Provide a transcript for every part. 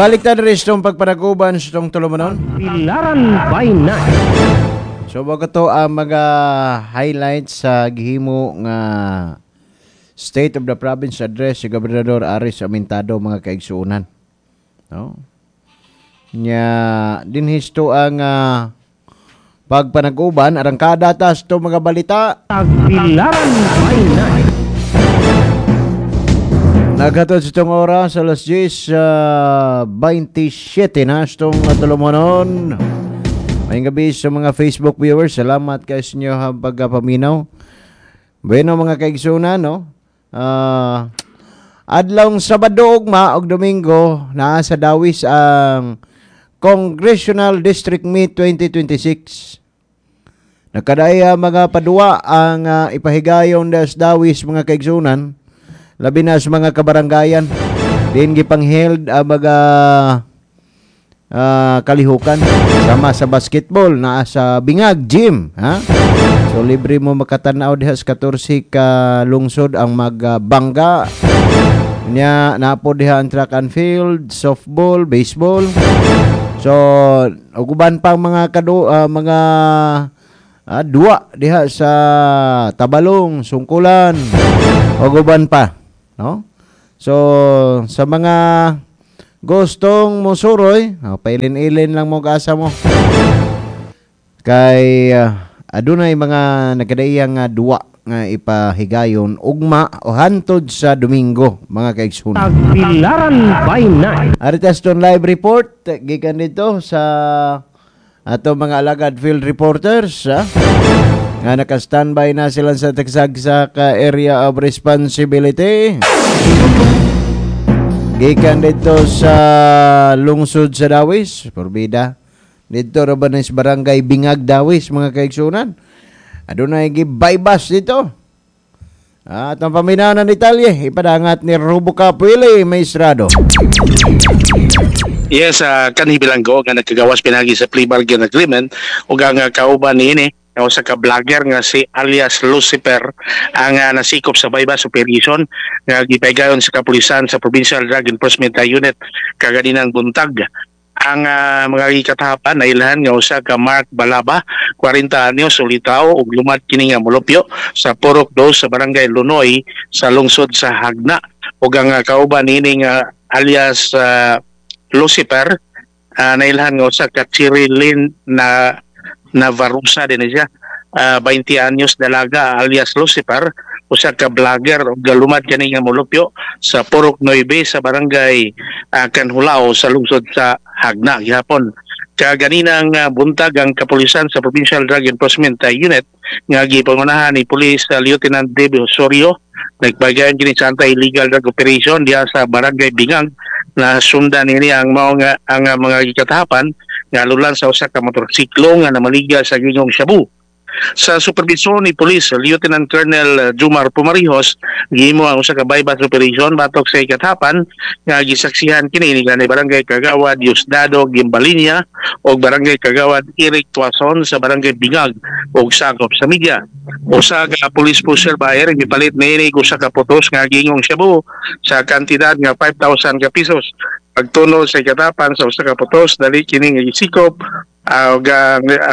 Balik ta diri sa itong pagpanaguban sa itong tulumanon. Tagbilaran by Night. So bago to ang mga highlights sa gihimo nga State of the Province Address si Gobernador Aris Amintado, mga kaigsuonan. No? Nya dinhisto ang pagpanaguban, arangkada ta sa mga balita. Tagbilaran by Night. Naghatod sa itong oras alas 10:27 na sa itong tulumanon. Maayong gabi sa mga Facebook viewers. Salamat kay sa inyo pagpaminaw. Bueno, mga kaigsunan, no? Adlawng Sabado ugma og Domingo naa sa Dawis ang Congressional District Meet 2026. Nakadaya mga paduwa ang ipahigayon das Dawis, mga kaigsunan, labi na sa mga kabaranggayan. Din gipangheld ang mga kalihukan sama sa basketball naa sa Bingag Gym, ha? So libre mo makatanaw diha sa 14 ka lungsod ang magbangga. Nya naa po diha ang track and field, softball, baseball. So ug uban pang mga mga duwa diha sa Tabalong, Sungkulan, ug uban pa, no? So sa mga gustong mosuroy, oh, pailin-ilin lang mo asa mo. Kay adunay mga nagkadaiyang duwa nga ipahigayon ugma o hantod sa Domingo, mga kaigsunan. Tagbilaran by Night. Aritas ton live report gikan dito sa ato mga alagad field reporters, ha? Nga naka-standby na sila sa tagsagsa ka area of responsibility. Gikan dito sa lungsod sa Dawis, Porbida. Dito ra ba ni sa Barangay Bingag, Dawis, mga kaigsunan. Adunay gi-buy-bust dito. At ang paminaw ng detalye, ipadangat ni Rubo Willie Maestrado. Yes, kanhi bilanggo nga nagkagawas pinagi sa plea bargain agreement ug ang kauban niini nga usa ka vlogger nga si alias Lucifer ang nasikop sa buy-bust operation nga gipahigayon sa kapulisan sa Provincial Drug Enforcement Unit kaganinang buntag. Ang mga gikatahapan nailhan nga usa ka Mark Balaba, 40 anyos, ulitaw ug lumad kini nga molupyo sa Purok 2 sa Barangay Lunoy sa lungsod sa Jagna. Ug ang kauban niini nga alias Lucifer nailhan nga usa ka Chirilin na Navarusa din siya, 20 anyos, dalaga, alias Lucifer, usa ka vlogger ug lumad kani nga molupyo sa Purok 9 sa Barangay Canjulao sa lungsod sa Jagna gihapon. Kaganinang buntag, ang kapulisan sa Provincial Drug Enforcement Unit nga gipangunahan ni Police Lieutenant David Osorio nagpagayon kini sa anti-illegal drug operation diha sa Barangay Bingag. Na sundan nini ang mao nga ang mga gikatahapan nga lulan sa usa ka motorsiklo nga namaligya sa gingong shabu. Sa supervisyon ni Police Lieutenant Colonel Jumar Pumarijos, gihimo ang usa ka buy-bust operation batok sa ikatahapan nga gisaksihan kini ni kanhi Barangay Kagawad Diosdado Gimbalinya ug Barangay Kagawad Eric Tuason sa Barangay Bingag ug sakop sa media. Usa ka police poseur buyer gipalit niini usa ka putos nga gingong shabu sa kantidad nga 5,000 ka pesos. Pagtuno sa ikatapan sa usa ka putos, dali kini nga gisikop og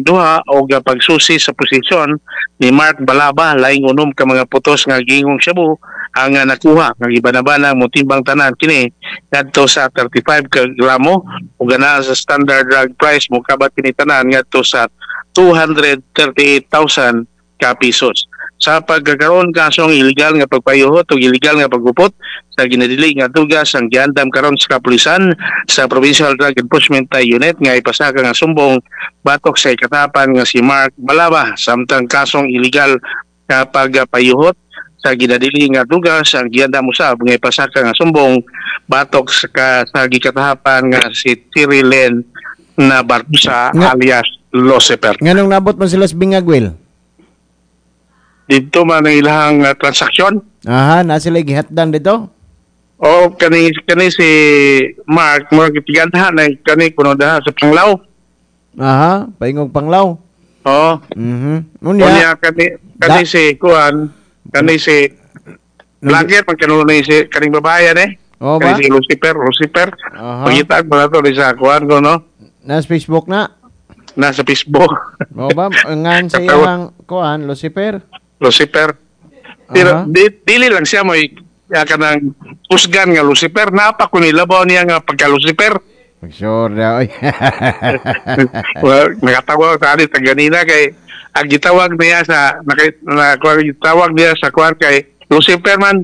duha og pagsusi sa posisyon ni Mark Balaba, laing 6 ka mga putos nga gingong shabu ang nakuha nga gibanabana motimbang tanan kini ngadto sa 35 ka gramo ug ana sa standard drug price mokabat kini tanan ngadto sa 238,000 ka pesos. Sa pagkakaroon, kasong illegal nga pagpayuhot o illegal nga paggupot sa ginadili nga dugas ang giandam karon sa kapulisan sa Provincial Drug Enforcement Unit nga ipasaka nga sumbong batok sa ikatapan nga si Mark Balaba, samtang kasong illegal nga pagpayuhot sa ginadili nga dugas ang giandam usab nga ipasaka nga sumbong batok sa gikatahapan nga si Tirilen na Barbusa alias Lucifer. Nganong nabot man sila sa Bingag, Will? Dito man ang ilahang transaksyon. Aha, na sila gihatdan dito? O kani kani si Mark mo gipiganhan na kani kuno daha sa Panglao. Aha, paingong Panglao. Oo. Unya, Unya kani kani si kuan kani si vlogger pag kanuno ni si kaning babae eh. Oo ba? Kani si Lucifer, Lucifer. Pakita ko na to sa kuan ko, no? Nasa Facebook na? Nasa Facebook. Oo ba? Ngan sa iyang kuan, Lucifer? Lucifer. Pero dili lang siya mo kanang kusgan nga Lucifer, napa ko nilabaw niya nga pagka Lucifer. Sure daw. Well, nakatawa sa alit ganina kay ang gitawag niya sa gitawag niya sa kuan kay Lucifer man.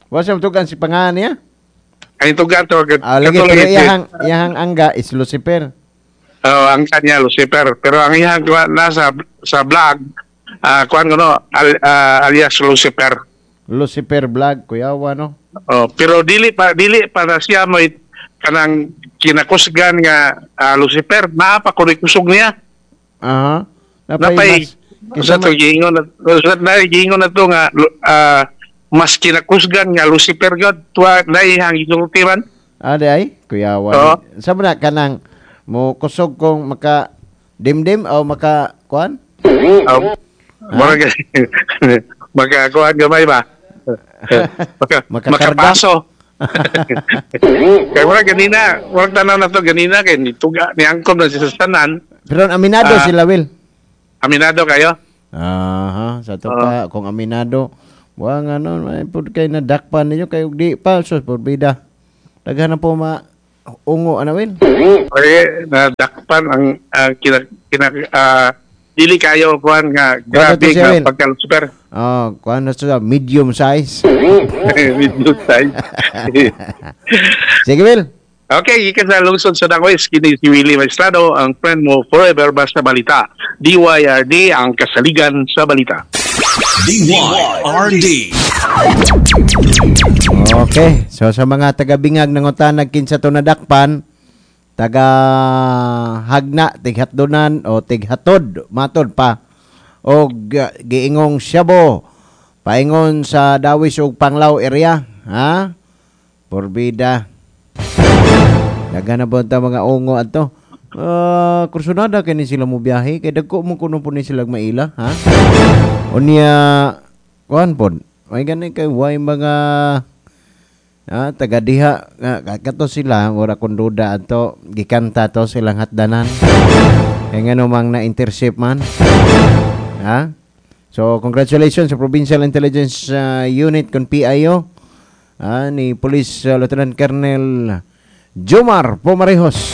Wa siya tugan si pangalan niya? Ay tugan to. Lagi pero iyahang angga is Lucifer. Oh, ang kanya Lucifer, pero ang iyahang nasa sa vlog kuan ko no, alias Lucifer. Lucifer vlog, kuyawa no. Oh, pero dili pa na siya mo kanang kinakusgan nga Lucifer, naa pa kuno kusog niya. Aha. Napay sa to giingon na to nga mas kinakusgan nga Lucifer god tuwa naihang gisulti man. Ade ay kuyawa. Oh. Sa na kanang mo kusog kong maka dimdim o maka kuan? Maka maka kuan gamay ba? Makapaso. Kaya wala ganina, wala tanaw na to ganina kay nituga niangkom na siya sa tanan. Pero aminado sila, Will. Aminado kayo? Aha, sa to pa kung aminado, wa nga no, may pud kay nadakpan ninyo kay di pa sus porbida. Daghan na po ma ungo ana, Will. Okay, nadakpan ang dili kayo kuan nga grabe nga pagka super. Oh, kuan na siya medium size. Medium size. Sige, Will. Okay, gikan sa lungsod sa Dangois, kini si Willie Maestrado, ang friend mo forever basta balita. DYRD ang kasaligan sa balita. DYRD. Okay, so sa mga taga-bingag nangutanag kinsa to nadakpan, taga hagna, tighatdonan o tighatod, matod pa og giingong syabo paingon sa Dawis ug Panglao area, ha? Porbida. Daghan na ba ta mga ungo adto? Kursunada kini sila mo biyahe kay dagko mo kuno po ni sila maila, ha? Unya kuan pod. May gani kay way mga taga diha kato sila ora kon duda ato gikanta to silang hatdanan. Kay ngano mang na-intercept man. Ha? So congratulations sa Provincial Intelligence Unit kon PIO ni Police Lieutenant Colonel Jomar Pomarejos.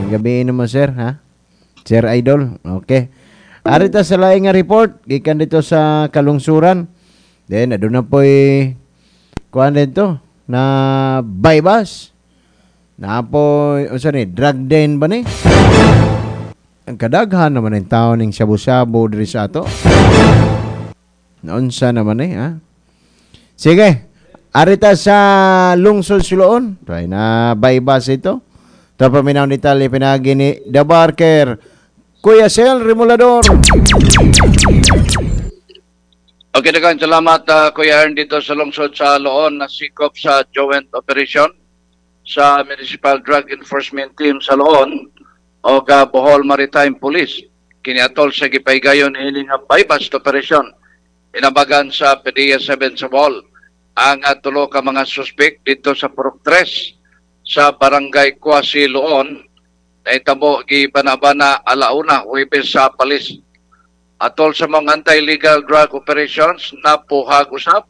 Ang gabi naman sir, ha? Sir Idol. Okay. Arita sa laing nga report gikan dito sa Kalungsuran. Then aduna poy kuan dito na bypass. Na poy unsa ni drug den ba ni? Ang kadaghan naman ang tao ning shabu-shabu diri sa ato. Naunsa naman eh, ha? Sige. Arita sa lungsod Siloon. Try na bypass ito. Ito paminaw ni Tali pinagi ni The Barker. Kuya Sel Remolador. Okay, daghang salamat Kuya Ern dito sa lungsod sa Loon na sikop sa joint operation sa Municipal Drug Enforcement Team sa Loon o Bohol Maritime Police. Kiniatol sa gipaygayon ini nga bypass operation inabagan sa PDEA 7 sa Bohol. Ang tulo ka mga suspek dito sa Purok 3 sa Barangay Kwasi Loon naitabo gibanabana alauna Huwebes sa Palis. Atol sa mga anti-illegal drug operations napuhag usab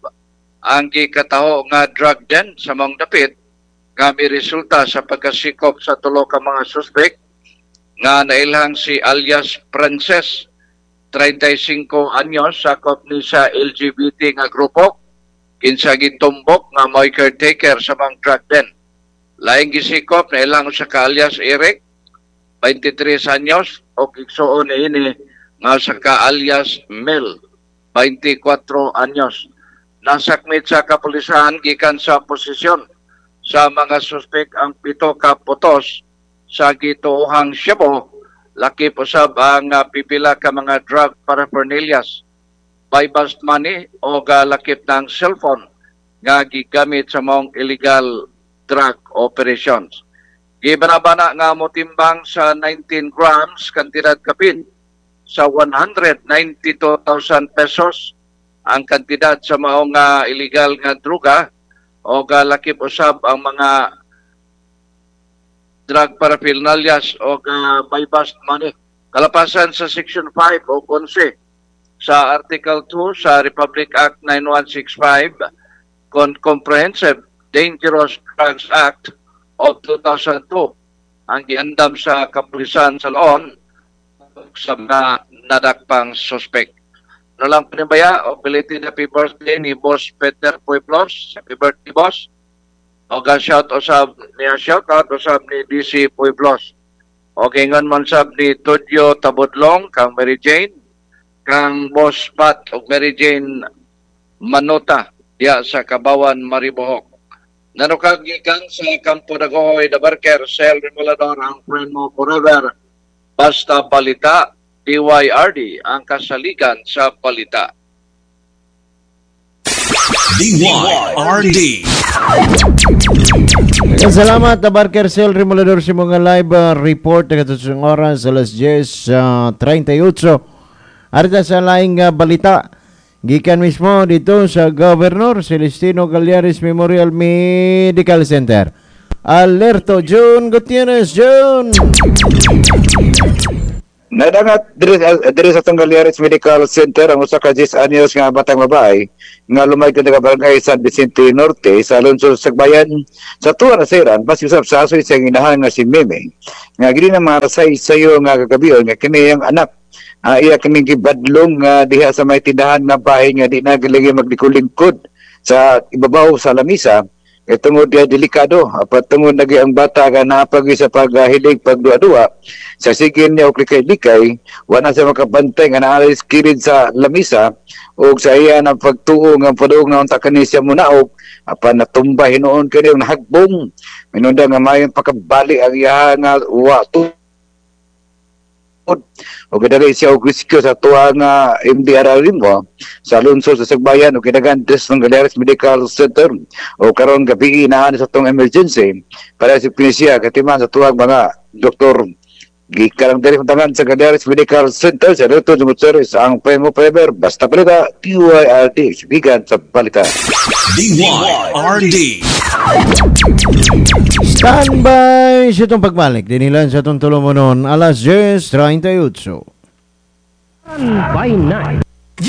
ang gikataho nga drug den sa mga dapit nga may resulta sa pagkasikop sa tulo ka mga suspek nga nailhang si alias Princess 35 anyos sakop ni sa LGBT nga grupo kinsa gitumbok nga mo'y caretaker sa mga drug den. Laing gisikop nailhang usa ka alias Eric 23 anyos o igsuon niini nga sa ka alias Mel 24 anyos. Nasakmit sa kapulisan gikan sa posisyon sa mga suspek ang 7 ka putos sa gituohang shabu, lakip usab ang pipila ka mga drug paraphernalias, buy-bust money o lakip ng cellphone nga gigamit sa mga illegal drug operations. Gibanabana nga motimbang sa 19 grams kantidad kapin sa 192,000 pesos ang kantidad sa maong illegal nga droga O lakip usab ang mga drug paraphernalias o buy-bust money. Kalapasan sa Section 5 o 11 sa Article 2 sa Republic Act 9165 con Comprehensive Dangerous Drugs Act of 2002 ang giandam sa kapulisan sa Loon sa mga nadakpang suspect. Ano lang pinabaya, o belated happy birthday ni Boss Peter Pueblos. Happy birthday, Boss. O ga shout usab niya, shout out usab ni DC Pueblos. O kingon man sab ni Tudyo Tabudlong kang Mary Jane, kang Boss Pat ug Mary Jane Manota diya sa Kabawan, Maribohok. Nanukag gikan sa Kampo Dagohoy, Dabarker, Sel Remolador, ang friend mo forever. Basta Balita, DYRD, ang kasaligan sa balita. DYRD. Salamat, Barker Sel Remolador, sa mga live report sa oras alas 10:38. Arita sa laing balita. Gikan mismo dito sa Governor Celestino Gallares Memorial Medical Center. Alerto June Gutierrez. June! Nadangat diri sa atong Gallares Medical Center ang usa ka 10 anyos nga batang babae nga lumay ka barangay San Vicente Norte sa lungsod sa Sagbayan sa tuwa na siran basi usab sa asoy sa inahan nga si Meme nga gini na mga rasay sayo nga kagabion nga kini ang anak iya kining gibadlong nga diha sa may tindahan nga bahay nga di na gilingi maglikulingkod sa ibabaw sa lamisa kay tungod diha delikado apat tungod lagi ang bata nga naapagi sa paghilig pagduwa-duwa sa sigin niya og likay-likay wala siya makabantay nga naalis kilid sa lamisa og sa iya ang pagtuo nga padung nga unta kani siya munaog apan natumba hinuon kani ang nahagbong minunda nga mayong pakabali ang iya nga wa o gidali siya og rescue sa tuwa nga MDR Limwa sa lungsod sa Sagbayan o gidagan des ng Gallares Medical Center o karon gabi naa sa tong emergency para sa siya katiman sa tuwang mga doktor. Gikan diri tangan sa Gallares Medical Center sa Dr. Gutierrez ang Premo Preber basta balita DYRD sibigan sa balita. DYRD. Standby sa itong pagbalik. Dinilan sa itong tulumonon alas 10:38. By night.